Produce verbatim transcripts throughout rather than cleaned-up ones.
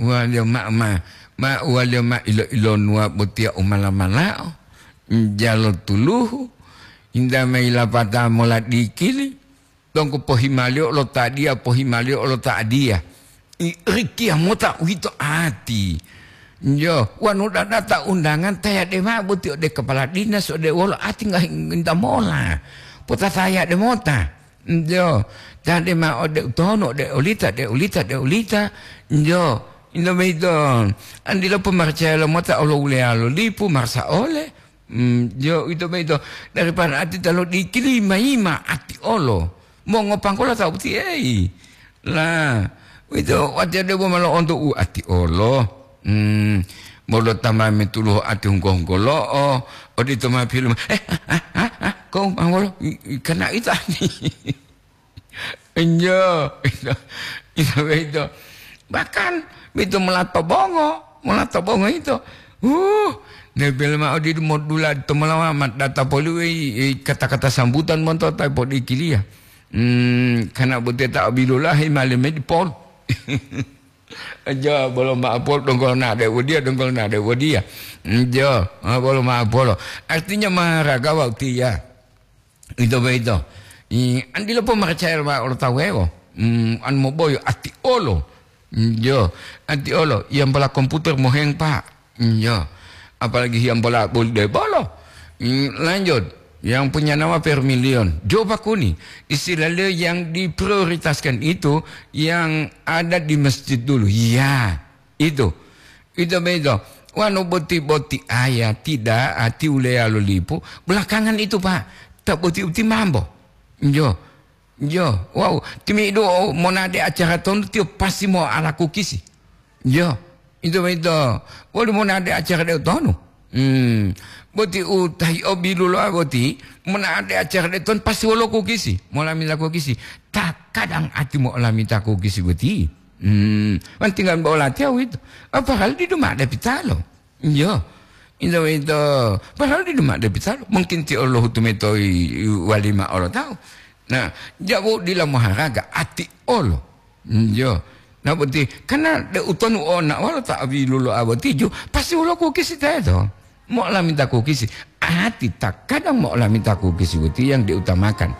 Uwaliyo mao ma, ma uwaliyo ma ilo-ilonuwa botiya u mala-malao, jalo tuluhu, hinta mayi lapata mola dikili, donggo pohimaliyo lo ta diya, pohimaliyo lo ta diya. I, rikiya mota uwito ati. Yo, wanu dadata undangan tayade mao boti ode kepala dinas, ode wolo ati ngahi nginta mola. Potatayade mota. Njo, tade ma ode utono, ode olita, ode olita, ode olita. Njo, ito boyito. Andilo pomarcaya lo mota olo uleya lo lipu, marsa ole. Mm, njo, ito boyito. Daripada ati talo dikili ma-ima ati olo. Mongopanggola ta uti, ei. La, uwito, watiya debo ma lo'onto u ati olo. Hmm, bolo ta ma metuluho ati hunggongolo'o, odito ma pilu, "Eh, ah, ah, ah, ah, kau ma wolo, i, i, kana ito ani?" Enjo, ito, ito, ito. Bahkan, ito molato bongo, molato bongo ito. Uh, nebel ma odidu modula to molawa ma data poli wei, eh, kata-kata sambutan monto ta podikiliya. Hmm, kana boteta obilulahi mali medipol. Jo, bolo ma'apol, donggo nade wodiya, donggo nade wodiya. Jo, ah, bolo ma'apolo. Artinya maharaga wau tiya. Ito boyito. I, andilo pomarcaya ma olo tawewo. Hmm, an moboyo ati olo. Jo, ati olo. Yang pola komputer moheng, Pak. Iya, apalagi yang bola boli de bolo. Hmm, lanjut, yang punya nama Vermilion. Jo pakuni, istilah yang diprioritaskan itu yang ada di masjid dulu. Iya, itu. Itu begitu. Wanu boti-boti aya tidak ati uleya lo lipu. Belakangan itu, Pak, tak boti-boti mambo. Jo. Jo, wow, timi'idu monade acara tonu tiyo pasti mo'ala kukisi. Jo, ito boyito. Woli monade acara de tonu? Hmm, boti u tahi o biluloa boti, monade acara de tonu pasti wolo kukisi, molamita kukisi. Takadang ati molamita kukisi boti. Hmm, man tinggal bo latiya uwito. Apa hal didu ma'ade pitalo? Iyo. Ito boyito, padahal didu ma'ade pitalo. Mungkin tiyo lohutu mayi to i, i walima olo tawu. Nah, jabu dila moharaga, ati olo. Iyo. Nah, boti, karena de utonu ona wolo ta abiluloa boti ju, pasti wolo kukisi teto. Mo'olamita kukisi. Ati takadang mo'olamita kukisi boti yang diutamakan.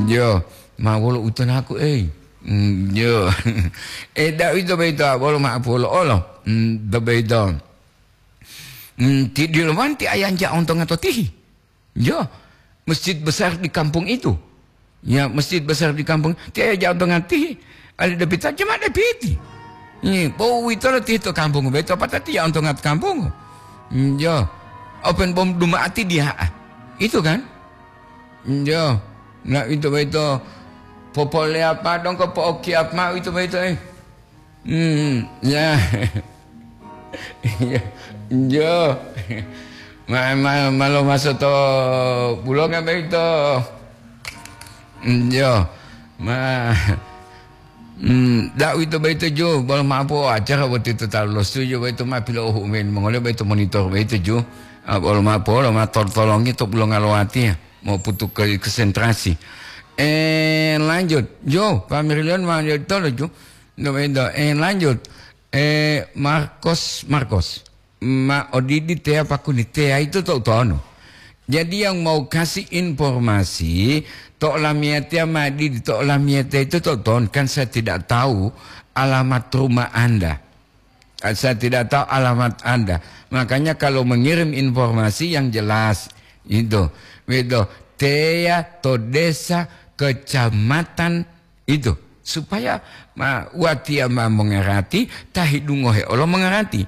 Iyo. Ma wolo utonaku, ei. Iyo. Eh, da uwito boyito, wolo ma'apu wolo olo. Hmm, do boyito. Hmm, ti dilowanti ayanja ontonga to tihi. Jo, masjid besar di kampung itu. Ya, masjid besar di kampung. Ti ayanja ontonga tihi. Ali depita, jemaah depiti. Ni, po uwito lo tihi to kampung, beto patati ya ontonga to kampung. Hmm, jo. Open bom duma'ati dia. Itu kan? Hmm, jo. Nah, itu beto. Popole apa dong ko po oki apa itu beto, eh. Hmm, ya. Ya, jo. Ma, ma, malo maso to bulonga boyito. Hmm, jo. Ma, hmm, da uwito boyito jo, bolo ma'apo acara boti to talu losu jo boyito ma pilohu men mongole boyito monitor boyito jo. Ah, bolo ma'apo lo ma tol-, tolongi to bulonga lowati ya. Moputu ke konsentrasi. Eh, lanjut. Jo, Pak Mirlion ma jo tolo jo. Nggak beda. Eh, lanjut. Eh, Marcos, Marcos. Ma odidi teya pakuni teya itu to utonu. Jadi yang mau kasih informasi, to lamiyatiya ma didi, to lamiyatiya itu to utonu. Kan saya tidak tahu alamat rumah Anda. Saya tidak tahu alamat Anda. Makanya kalau mengirim informasi yang jelas, itu. Begitu. Teya to desa, kecamatan, itu, supaya ma, watiya ma mongarati, ta hidungohe olo mongarati.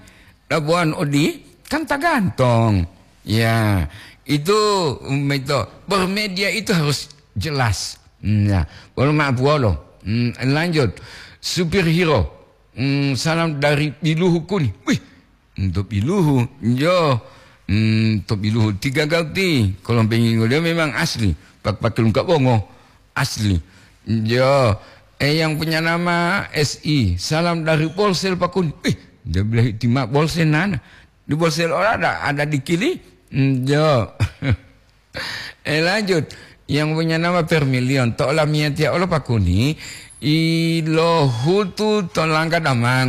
Labuan odi kan tagantong. Ya, itu, um, itu, bermedia itu harus jelas. Hmm, ya, wolo ma'apu wolo. Hmm, lanjut. Supir Hiro. Hmm, salam dari Biluhu Kuni. Wih, untuk Biluhu. Yo. Hmm, to Biluhu tiga gauti. Kalau pengen dia memang asli. Pak pakai lengkap bongo. Asli. Jo. Eh, yang punya nama S I. Salam dari Bolsel Pakun. Ih, dia bilang tima Bolsel nana. Di Bolsel ora ada, ada di kili. Hmm, jo. Eh, lanjut. Yang punya nama Permilion. To lamiyatiya olo Pakuni. Ilohutu to langga damang.